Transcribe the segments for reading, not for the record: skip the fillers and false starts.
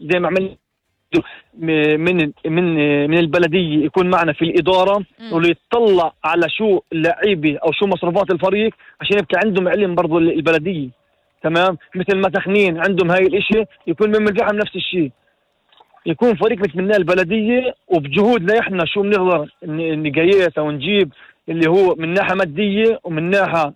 زي ما عمل من البلدية يكون معنا في الإدارة ويطلع على شو اللعيبة أو شو مصروفات الفريق عشان يبقى عندهم علم برضو البلدية. تمام، مثل ما تخنين عندهم هاي الاشي يكون من الفحم نفس الشيء، يكون فريق مثل البلدية وبجهودنا احنا شو بنقدر نقيس او نجيب اللي هو من ناحية مادية ومن ناحية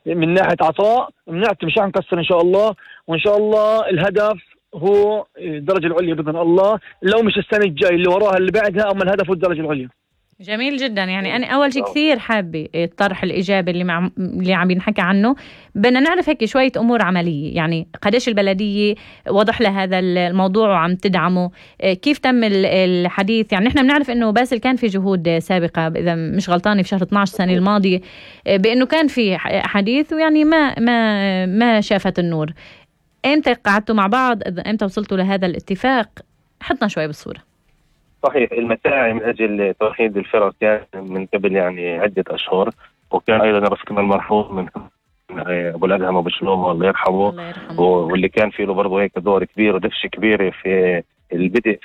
من ناحية عطاء بنعطي، مش هنكسر ان شاء الله. وان شاء الله الهدف هو الدرجة العليا بإذن الله، لو مش السنة الجاي اللي وراها اللي بعدها، اما الهدف هو الدرجة العليا. جميل جدا. يعني أنا أول شيء كثير حابة الطرح الإيجابي اللي عم ينحكى عنه. بدنا نعرف هيك شوية أمور عملية، يعني قديش البلدية وضح لها هذا الموضوع وعم تدعمه، كيف تم الحديث. يعني نحن بنعرف إنه باسل كان في جهود سابقة، إذا مش غلطانة في شهر 12 السنة الماضية، بإنه كان في حديث ويعني ما شافت النور. إمتى قعدتوا مع بعض؟ إمتى وصلتوا لهذا الاتفاق؟ حطنا شوي بالصورة. صحيح، المساعي من أجل توحيد الفرق كان من قبل يعني عدة أشهر، وكان أيضا رفقنا المرحوم من أبو الأدهم أبو شلوم الله يرحمه، واللي كان فيه له برضه هيك دور كبير ودفشة كبيرة في البدء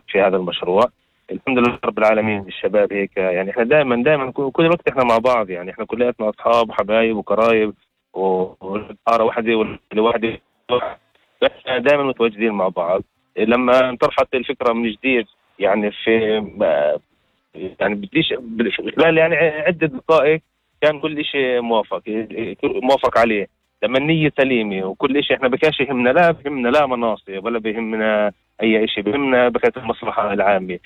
في هذا المشروع. الحمد لله رب العالمين. الشباب هيك يعني احنا دائما كل وقت احنا مع بعض، يعني احنا كلياتنا أصحاب وحبايب وقرايب وطارة واحدة والواحدة، دائما متواجدين مع بعض. لما انطرحت الفكرة من جديد يعني بديش خلال يعني عدة دقائق كان كل شيء موافق عليه. لما النية سليمة وكل شيء، احنا بكاش يهمنا لا مناصب ولا بيهمنا اي شيء، بيهمنا بكاش المصلحة العامة.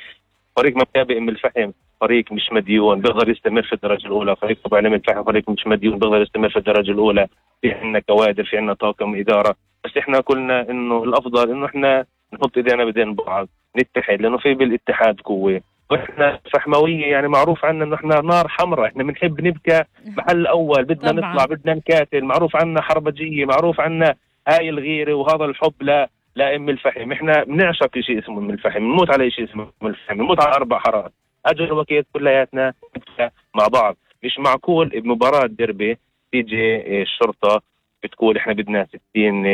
فريق مكابئ من الفحم فريق مش مديون بيقدر يستمر في الدرجة الأولى، فريق طبعا من الفحم فريق مش مديون بيقدر يستمر في الدرجة الأولى. في عنا كوادر، في عنا طاقم إدارة، بس احنا قلنا انه الأفضل انه احنا نحط ايدينا بدين بعض، نتحد، لانه في بالاتحاد قوه. واحنا فحمويه يعني معروف عنا انه احنا نار حمراء، احنا بنحب نبكى محل اول، بدنا نطلع، بدنا نكاتل، معروف عنا حربجيه، معروف عنا هاي الغيره وهذا الحب لا ام الفحم. احنا بنعشق شيء اسمه ام الفحم، بنموت على شيء اسمه ام الفحم، بنموت على 4 حارات. اجل وكيت كلياتنا مع بعض. مش معقول بمباراه ديربي تيجي الشرطه بتقول احنا بدنا 60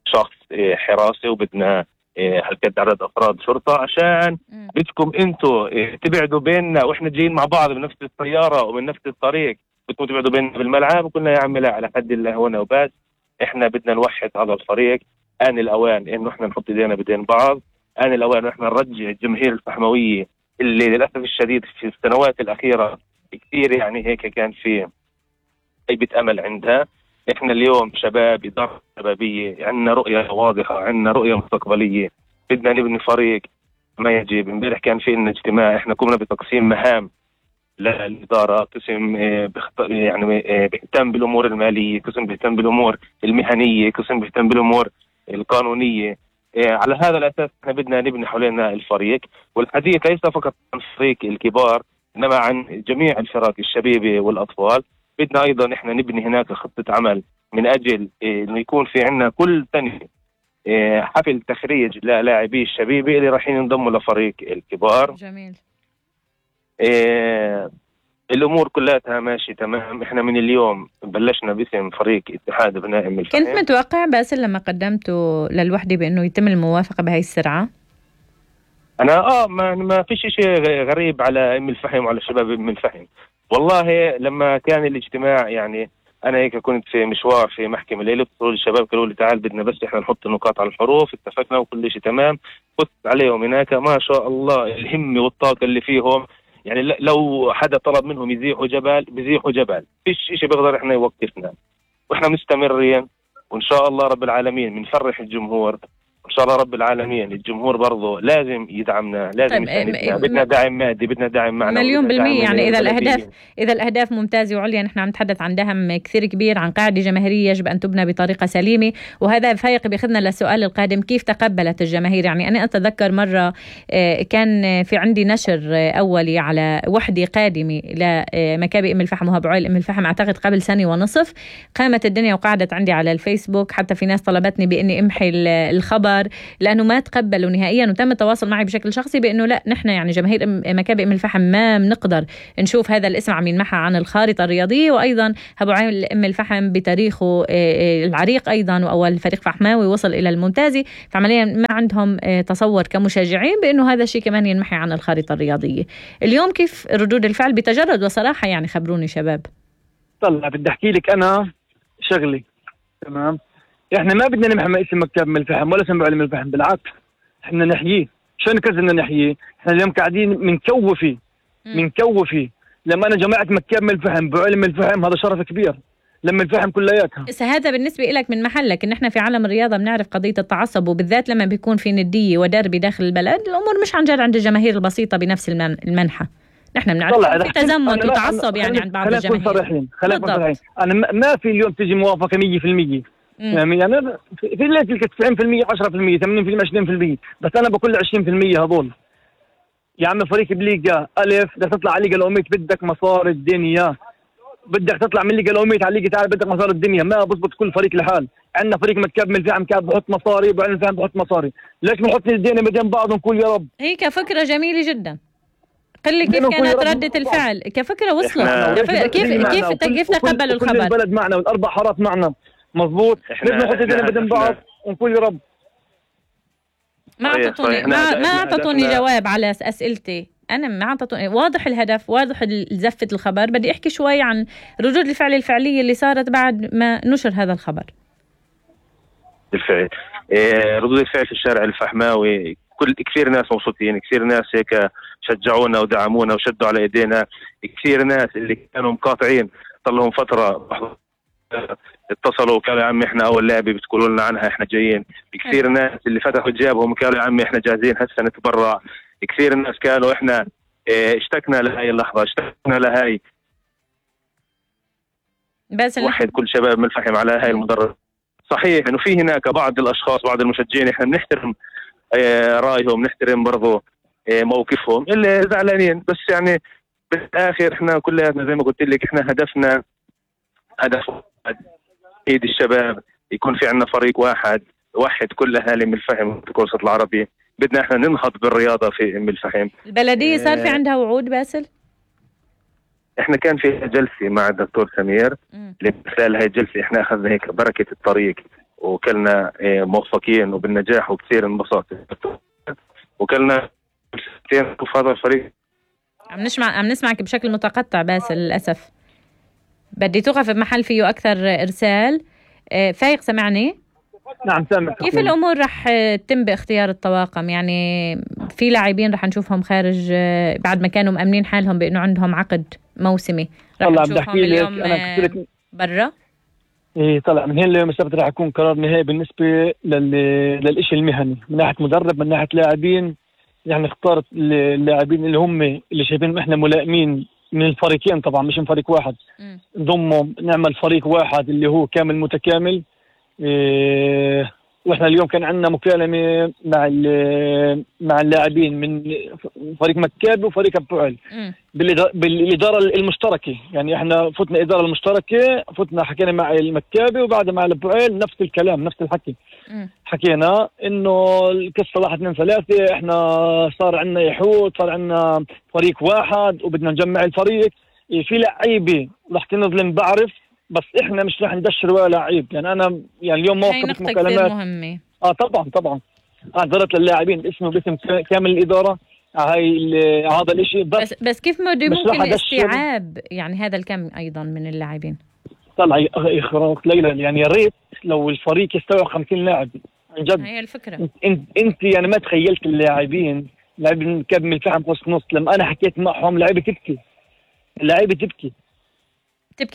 شخص حراسه وبدنا هالقد عدد افراد شرطه عشان بدكم انتم تبعدوا بيننا، واحنا جايين مع بعض بنفس السياره ومن نفس الطريق، بدكم تبعدوا بيننا بالملعب. وقلنا يا عمي لا، على حد الله هنا وبس، احنا بدنا نوحد هذا الفريق. آن الأوان إنه إحنا نحط إيدينا بدين بعض، آن الأوان إنه إحنا نرجع الجماهير الفحموية اللي للأسف الشديد في السنوات الأخيرة كثير يعني هيك كان في خيبة أمل عندها. إحنا اليوم شباب، إدارة شبابية، عندنا رؤية واضحة، عندنا رؤية مستقبلية، بدنا نبني فريق ما يجب. امبارح كان في لنا اجتماع، إحنا قمنا بتقسيم مهام للإدارة، قسم يعني بيهتم بالأمور المالية، قسم بيهتم بالأمور المهنية، قسم بيهتم بالأمور القانونية. على هذا الأساس احنا بدنا نبني حولنا الفريق، والحديث ليس فقط عن فريق الكبار إنما عن جميع الفرق الشبيبة والأطفال. بدنا أيضا احنا نبني هناك خطة عمل من أجل إنه يكون في عنا كل سنة حفل تخريج للاعبي الشبيبة اللي رايحين ينضموا لفريق الكبار. جميل. الأمور كلها ماشي تمام. إحنا من اليوم بلشنا باسم فريق اتحاد أبناء أم الفحم. كنت متوقع باسل لما قدمته للوحدة بأنه يتم الموافقة بهاي السرعة؟ أنا ما فيش شيء غريب على أم الفحم وعلى شباب أم الفحم. والله لما كان الاجتماع يعني أنا هيك كنت في مشوار في محكمة الليلة، اتصلوا الشباب قالوا لي تعال بدنا بس إحنا نحط النقاط على الحروف، اتفقنا وكل شيء تمام. قلت عليهم هناك ما شاء الله الهمة والطاقة اللي فيهم، يعني لو حدا طلب منهم يزيحوا جبل بيزيحوا جبل، فيش شيء بيقدر احنا يوقفنا، واحنا مستمرين. وان شاء الله رب العالمين بنفرح الجمهور، ان شاء الله رب العالمين الجمهور برضه لازم يدعمنا، لازم يساندنا. بدنا دعم مادي، بدنا دعم معنوي، 100%. يعني اذا الاهداف ممتازه وعليا، نحن عم نتحدث عن دعم كثير كبير، عن قاعده جماهيريه يجب ان تبنى بطريقه سليمه. وهذا فايق بياخذنا للسؤال القادم، كيف تقبلت الجماهير؟ يعني انا اتذكر مره كان في عندي نشر اولي على وحده قادمه لمكابئ ام الفحم وهب عويل ام الفحم، اعتقد قبل 1.5 سنة. قامت الدنيا وقعدت عندي على الفيسبوك، حتى في ناس طلبتني باني امحي الخبر الكبار، لأنه ما تقبلوا نهائيا. وتم التواصل معي بشكل شخصي بأنه لا، نحن يعني جماهير مكابي أم الفحم ما بنقدر نشوف هذا الاسم عم ينمحى عن الخارطة الرياضية. وأيضا أبو علي أم الفحم بتاريخه العريق أيضا، وأول فريق فحماوي وصل إلى الممتازي، فعمليا ما عندهم تصور كمشجعين بأنه هذا الشيء كمان ينمحي عن الخارطة الرياضية. اليوم كيف ردود الفعل بتجرد وصراحة؟ يعني خبروني شباب. طلع بدي أحكي لك أنا شغلي، تمام؟ إحنا ما بدنا نمحي اسم مكاب من الفحم ولا اسم أبو علي من الفحم، بالعكس إحنا نحييه. شو نكذبنا نحييه؟ إحنا اليوم قاعدين منكوفي لما أنا جماعة مكاب من الفحم أبو علي من الفحم، هذا شرف كبير لما الفحم كلياتها. هذا بالنسبة لك من محلك، إن إحنا في عالم الرياضة بنعرف قضية التعصب، وبالذات لما بيكون في ندية ودربي داخل البلد الأمور مش عن جد عند الجماهير البسيطة بنفس المنحى. نحن بنعرف في تزمت وتعصب يعني عند بعض الجماهير. خلينا نكون صريحين. أنا ما في اليوم تجي موافقة 100%. يعني في اللي تلك 90% 10% 80% 20%، بس أنا بقول 20% هذول. يا عم فريق بليغا ألف بدك تطلع على ليغا الأوميت بدك مصاري الدنيا، بدك تطلع من ليغا الأوميت على ليغا تعال بدك مصاري الدنيا، ما بزبط كل فريق لحال. عندنا فريق متكاب من الفحم كاب بحط مصاري، وبعدين الفحم بحط مصاري، ليش بنحط ايدينا بين بعض ونقول يا رب؟ هي كفكرة جميلة جدا. قل لي كيف كانت ردة الفعل؟ كفكرة وصلت كيف تقبلوا الخبر؟ كل البلد معنا والأربع حارات معنا، مزبوط. ليش بنحط ايدينا بين بعض ونقول يا رب؟ ما أعطتوني جواب على أسئلتي. أنا ما أعطتوني واضح الهدف، واضح زفة الخبر. بدي أحكي شوي عن ردود الفعل الفعلية اللي صارت بعد ما نشر هذا الخبر. بالفعل ردود الفعل في الشارع الفحماوي كثير ناس مبسوطين، كثير ناس هيك شجعونا ودعمونا وشدوا على ايدينا، كثير ناس اللي كانوا مقاطعين صار لهم فترة اتصلوا وقالوا يا عمي احنا اول لعبه بتقولوا لنا عنها احنا جايين. كثير ناس اللي فتحوا جيبهم قالوا يا عمي احنا جاهزين هسه نتبرع. كثير ناس قالوا احنا اشتقنا لهي اللحظه، اشتقنا لهي. بس وحد كل شباب من الفحم على هاي المدرب. صحيح انه في هناك بعض الاشخاص بعض المشجعين احنا بنحترم رايهم، نحترم برضو موقفهم اللي زعلانين، بس يعني بالاخر احنا كلياتنا زي ما قلت لك احنا هدفنا هدف ايد الشباب، يكون في عندنا فريق واحد وحد كل اهالي ام الفحم في الوسط العربي. بدنا احنا ننهض بالرياضه في ام الفحم. البلديه صار في عندها وعود باسل؟ احنا كان في جلسه مع الدكتور سمير، من خلال هاي الجلسه احنا اخذنا هيك بركه الطريق وكلنا موفقين وبالنجاح وكثير انبساط، وكلنا نشوف هذا الفريق. عم نسمعك بشكل متقطع باسل للاسف. بدي توقف بمحل فيه اكثر ارسال. فايق سمعني؟ نعم سامع. كيف الامور رح تتم باختيار الطواقم؟ يعني في لاعبين رح نشوفهم خارج بعد ما كانوا مأمنين حالهم بانه عندهم عقد موسمي، رح نشوفهم اليوم برا. ايه طلع من هنا اليوم السبت رح يكون قرار نهائي بالنسبه للإشي المهني من ناحيه مدرب من ناحيه لاعبين. يعني اختارت اللاعبين اللي هم اللي شايفين احنا ملائمين من الفريقين، طبعا مش من فريق واحد. نضمهم نعمل فريق واحد اللي هو كامل متكامل. واحنا اليوم كان عندنا مكالمه مع اللاعبين من فريق مكابي وفريق ابو علي بالاداره المشتركه. يعني احنا فتنا اداره المشتركه، فتنا حكينا مع المكابي وبعدها مع ابو علي نفس الكلام نفس الحكي. حكينا انه القصه 1 2 3 احنا صار عندنا يحوط، صار عندنا فريق واحد وبدنا نجمع الفريق. في لعيبه رح تنظلم بعرف، بس احنا مش رح ندشر ولا لعيب. يعني انا يعني اليوم موقف مكالمات مهمه. طبعا اعتذرت للاعبين باسم كامل الاداره هاي هذا الاشي. بس كيف ممكن الاستيعاب يعني هذا الكم ايضا من اللاعبين؟ طلع اخراق ليلى. يعني يا ريت لو الفريق يستوعب 50 لاعب عن جد. هي الفكره. انت يعني ما تخيلت اللاعبين لاعبين كاب من الفحم قص نص لما انا حكيت معهم لعيبه تبكي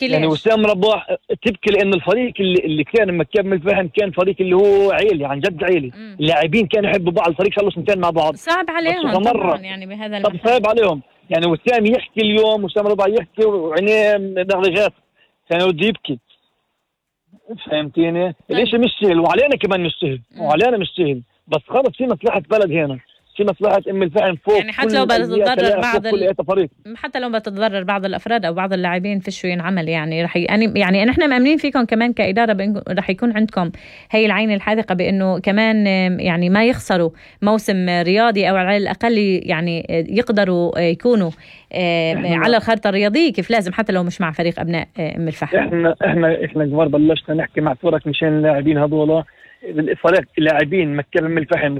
ليش؟ يعني وسام رباح تبكي لأن الفريق اللي كان مكاب من الفحم كان فريق اللي هو عيلي عن جد عيلي. اللاعبين كانوا يحبوا بعض، الفريق صار له 2 مع بعض. صعب عليهم طبعا يعني بهذا المكان. صعب عليهم. يعني وسام يحكي اليوم، وسام رباح يحكي وعينيه دغدغات كان بده يبكي. فهمتيني؟ الاشي مش سهل وعلينا كمان مش سهل بس خلص في مصلحة بلد هنا. في مصلحة أم الفحم فوق يعني حتى لو بتتضرر بعض فريق. حتى لو بتتضرر بعض الافراد او بعض اللاعبين في شو ينعمل، يعني رح يعني نحن مأمنين فيكم كمان كإدارة رح يكون عندكم هي العين الحاذقة بانه كمان يعني ما يخسروا موسم رياضي، او على الاقل يعني يقدروا يكونوا على الخارطة الرياضية كيف لازم، حتى لو مش مع فريق ابناء ام الفحم. احنا كبار بلشنا نحكي مع فرق مشان اللاعبين هذول، فريق لاعبين مكة ام الفحم